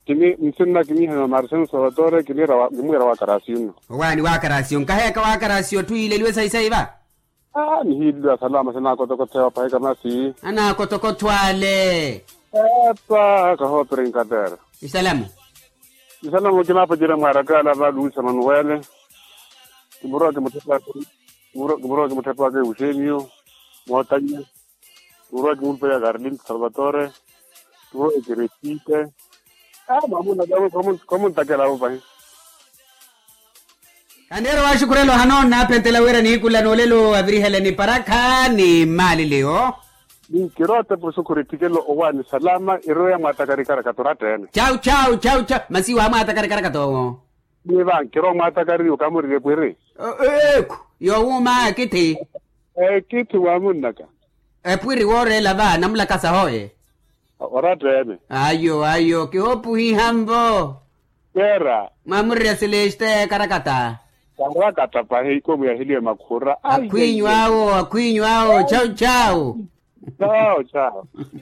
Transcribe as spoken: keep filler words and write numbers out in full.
Kini nsinna kiniihana marcelo salvatore kiniira wa- kimwiira wa karasio nno. Owaani wa karasio nkaheeka wa karasio otthu yiileliwe sayi sayi va. Aa nihiileliwa salama sinaakotokotha ewa pahika masi. Anaakotokotho ale. Epa kahoopira inkateera. Isalamu. Isalamu kinaapacerya mwaarakaala va luisa manuwele. Kimurowa kimutthapaaka. Kimurowa kimutthapaaka euseniyo. Mootanya. Kimurowa kimulupelya karlinto salvatore. Kimurowa ekeresite. Aa mwamunna. Komuntakela avo pahi. Kandeero waxukhurela ohanoona apentela wira nihikulana olelo aviriheleni parakha ni mmaliliyo. Ni kirowa tepo sukhuri ettikelo owaani salama eroya mwaatakari karakata oratta ene. Chau chau chau chau. Masi waamwaatakari karakata owo. Ni va nkirowa mwaatakari okamurirye pwiri. Eekhu. Yowuuma akithi. Ekithi waamunnaka. Epwiri wooreela va namulakasa hoye. Oratta ene. Ayo ayo kihoopuhiha nvo. Keera. Mwaamurirya seleste karakata. Karakata pahi ikomu yahiliwe makhura. Akhwinyu awo akhwinyu awo chau chau. Chau chau.